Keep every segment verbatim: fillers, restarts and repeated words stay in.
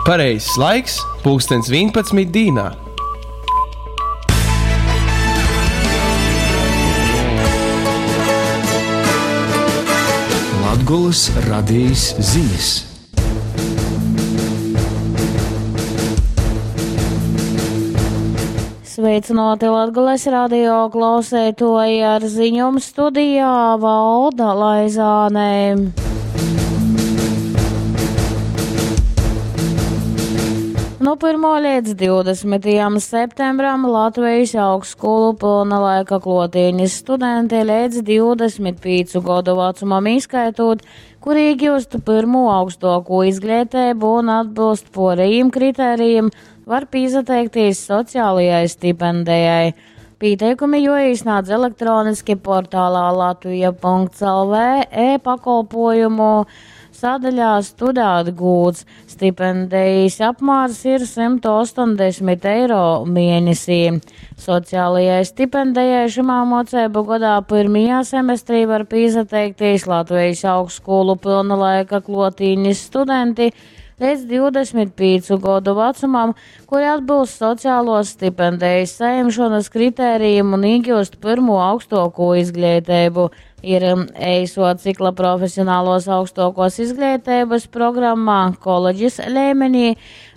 Pareizais laiks – pulkstens vienpadsmit dīnā. Latgolys radejis zinis. Sveicināti Latgales radio klausētoji ar ziņom studijā Valda Laizāne. Nu pirmo līdz divdesmitajam septembram Latvijas augstskolu pilna laika klotīņas studenti līdz divdesmit pīcu godu vecumam īskaitot, kuri iegūst pirmo augstāko izglītību un atbilst porejiem kritērijiem, var pieteikties sociālajai stipendijai. Pieteikumi joīsnādz elektroniski portālā latvija punkts lv e-pakolpojumu sadaļā Studēt gūts. Stipendijas apmērs ir simt astoņdesmit eiro mēnesī. Sociālajai stipendijai šimā mocību gadā pirmajā semestrī var pieteikties Latvijas augstskolu pilna laika klotīņas studenti līdz divdesmit pīcu godu vecumam, kuri atbilst sociālos stipendijas saņemšanas kritērijiem un iegūst pirmo augstāko izglītību. Ir eiso cikla profesionālos augstākos izglītības programmā koledžas līmenī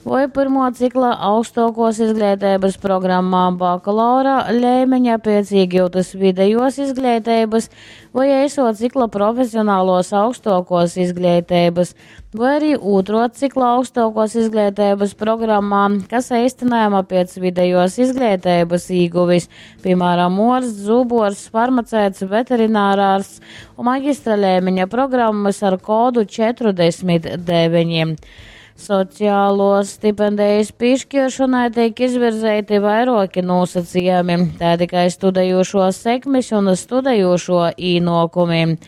vai pirmo cikla augstākos izglītības programmā bakalaura līmeņa pēc iegūtas vidējos izglītības vai eiso cikla profesionālos augstākos izglītības vai arī otro cikla augstākos izglītības programmā, kas īstenojama pēc vidējos izglītības ieguvis, piemēram, ors, zubors, farmaceits, veterinārārsts un maģistra līmeņa programmas ar kodu četrdesmit deviņi. Sociālo stipendijas piešķiršanai tiek izvirzīti vairāki nosacījumi, tā tikai studējošo sekmes un studējošo īnokumi.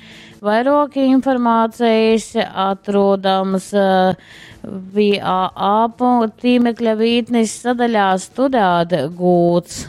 Vairāk informācijas atrodams, eh, V A A tīmekļa vītnes sadaļā Studēt gūts.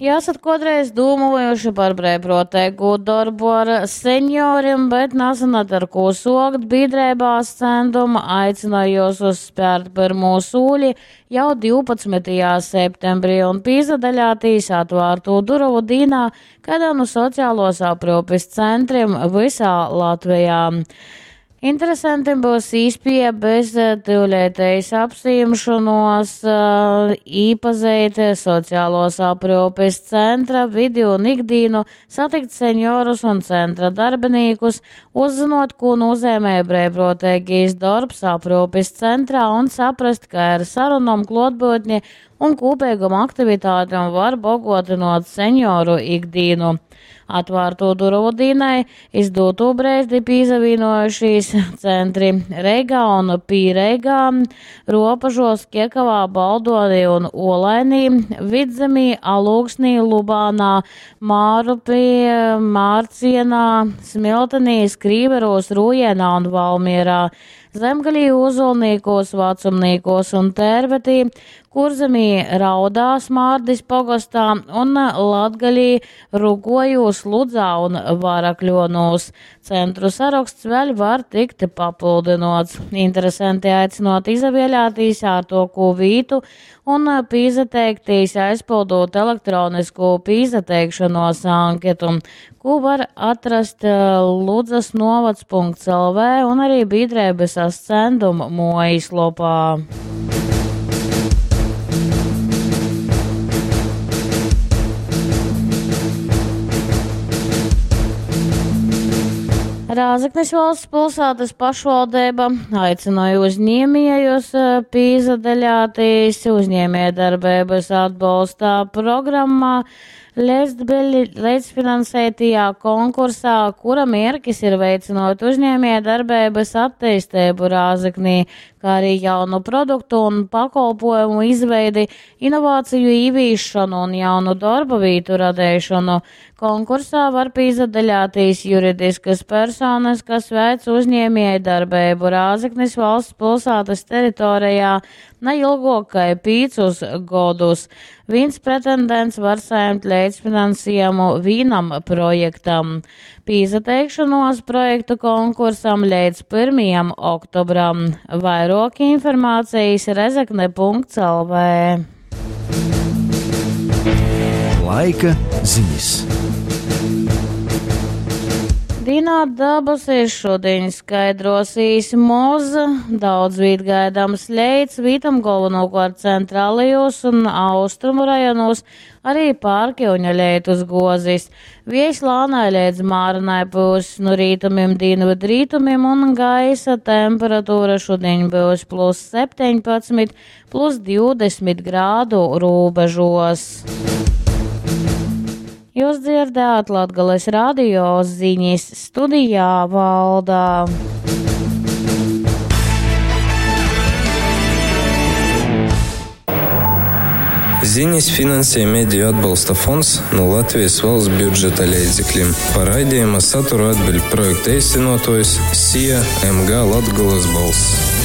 Ja esat kādreiz domājuši par brīvprātīgu darbu ar senioriem, bet nezināt, ar ko sokt, biedrībā Ascendum aicināju jūs uzspērt pirmo sūli jau divpadsmitajā septembrī un pīzadaļātīs atvērto durovu dīnā kādā no sociālos aprūpes centriem visā Latvijā. Interesantiem būs īspēja bez tyulētējas apsīmšanos, eh, īpazīt sociālos aprūpes centra vidi un ikdīnu, satikt seniorus un centra darbiniekus, uzzinot, ko nozīmē brīvprātīgais darbs aprūpes centrā un saprast, ka ar sarunom klotbūtni un kopīgam aktivitātēm var bogotinot senioru ikdīnu. Atvērto durvu dīnai izdūto brēzdi pīzavīnojušies centri Reigā un Pīreigā, Ropažos, Kiekavā, Baldonī un Olainī, Vidzemī, Alūksnī, Lubānā, Mārupī, Mārcienā, Smiltenī, Skrīveros, Rūjienā un Valmierā, Zemgalī, Ozolniekos, Vacumniekos un Tērvetī, Kurzemī, Raudā, Smārdis pogastā un Latgalī, Rugojūs, Ludzā un Varakļonos. Centru saraksts vēl var tikt papildinots. Interesanti aicinot izavēlētīs ārtoku vītu un pīzateiktīs aizpildot elektronisko pīzateikšanos anketu, ko var atrast, eh, Ludzas novads punkts L V un arī biedrības Ascendum mājaslapā. Rāzaknis valsts pilsētas pašvaldība aicināja uzņēmējus, eh, pīzadaļāties uzņēmējdarbības atbalstā programmā līdzfinansētajā konkursā, kura mērķis ir veicinot uzņēmējdarbības attīstību Rāzaknī, kā arī jaunu produktu un pakalpojumu izveidi, inovāciju īvīšanu un jaunu darba vietu radīšanu. Konkursā var pīzadaļāties juridiskas personas, kas veic uzņēmējdarbību Rāzaknis valsts pilsētas teritorijā, ne ilgāk kai pīcus godus. Vīns pretendents var saņemt līdzfinansējumu vīnam projektam. Pīsateikšanos projektu konkursam līdz pirmajam oktobram. Vairāk informācijas rezekne punkts L V. Laika ziņas. Dīnā dabasis šodien skaidrosīs moz, daudz vīt gaidāms leits, vītam galvenokārt centrālajos un austrumu rajonos, arī pārkiuņa leitus gozis. Viejs lānai līdz māranai būs no rītumiem, dienvidu rītumiem un gaisa temperatūra šodien būs plus septiņpadsmit, plus divdesmit grādu robežos. Jūs dzirdējāt Latgales radio ziņas, studijā Valdā. Ziņas finansē Mediju atbalsta fonds no Latvijas valsts budžeta līdzekļiem. Par raidījuma saturu atbild projekta īstenotājs SIA M G Latgolas balss.